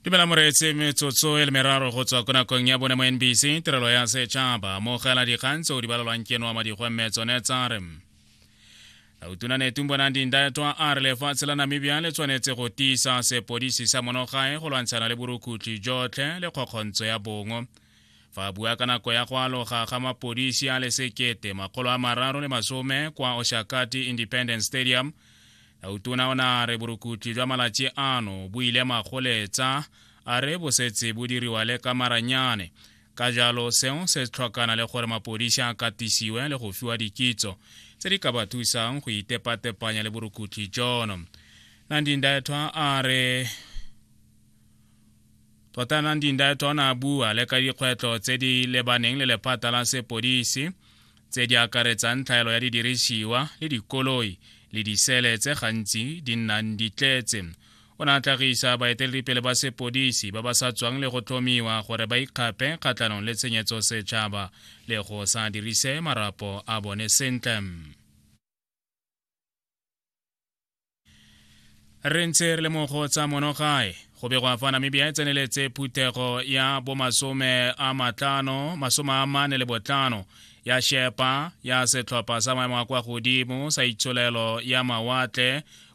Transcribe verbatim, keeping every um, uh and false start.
Dumela moreetsi, metsotso e le meraro go tswa ko nakong ya bone mo N B C tirelo ya setšhaba. Amogela dikgang tse o di balelwang ke noa madigwe, mme tsone tsa re: Tautona Netumbo Nandi-Ndaitwah a re lefatshe la Namibia le tshwanetse go tiisa sepodisi sa monogae go lwantshana le borukutlhi jotlhe le kgokgontso ya bongwe. Fa a bua ka nako ya go aloga ga mapodisi a le sekete makgolo a mararo le masome kwa Oshakati Independence Stadium, Tautona o ne a re borukutlhi jwa malatsi ano bo ile magoletsa, a re bo setse bo diriwa le ka maranyane, ka jalo seo se tlhokana le gore mapodisi a katisiwe le go fiwa dikitso tse di ka ba thusang go itepatepanya le borukutlhi jono. Nandi-Ndaitwah a re tota Nandi-Ndaitwah o ne a bua le ka dikgwetlho tse di lebaneng le lephata la sepodisi, tse di akaretsang tlhaelo ya didirisiwa le dikoloi le disele tse gantsi di nnang di tletse. O ne a tlhagisa baeteledipele ba sepodisi ba ba sa tswang le go tlhomiwa gore ba ikgape kgatlhanong le tshenyetso setšhaba le go sa dirise marapo a bone sentle. Re ntse re le mo go tsa monogae, go begwa fa Namibia e tseneletse phuthego ya bomasome a matlano masome a mane le botlhano ya shepa ya setlhopha sa maemo a kwa godimo sa itsholelo ya mawatle.